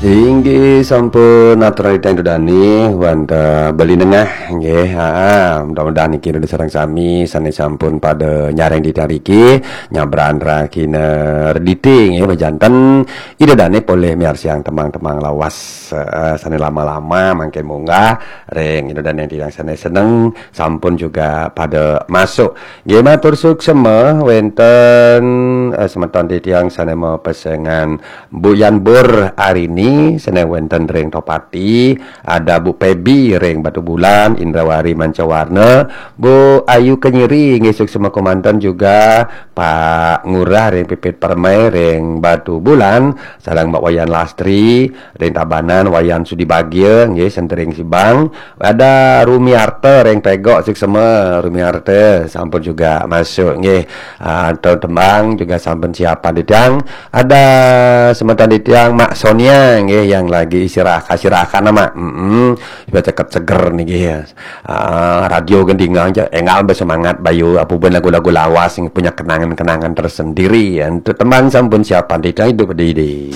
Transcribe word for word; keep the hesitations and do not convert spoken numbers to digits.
Inggih sampun atur titiang Ida dane wonten Bali Nengah nggih. Ha, mudah-mudahan niki Ida sareng sami sane sampun pada nyareng titiang riki nyabran rahina Redite nggih, bejanten Ida dane polih miarsiang tembang-tembang lawas, eh, sane lama-lama mangkin munggah ring Ida dane titiang sane seneng sampun juga pada masuk. Nggih, matur suksema wenten, eh, semeton titiang sane mapesengan Bu Yan Bur Arini, sane wenten ring Topati, ada Bu Pebi ring Batubulan, Indrawari Mancawarna, Bu Ayu Kenyiri, nggih, suksema kemanten juga Pak Ngurah ring Pipit Permai ring Batubulan, sareng Mbak Wayan Lastri ring Tabanan, Wayan Sudi Bagia, nggih, sentering Sibang, ada Rumiarta ring Pegok, suksema Rumiarta sampun juga masuk nggih. Ah, tembang juga sampun siapan titiang. Ada semeton titiang Mak Sonia nggih yang lagi istirahat, istirahat nama. Mm-mm. Supaya cekap seger niki ya. Ah, radio gendingan aja, enggal be semangat bayu apa ben lagu-lagu lawas yang punya kenangan-kenangan tersendiri ya. Untuk tembang sampun siapan titiang hidup di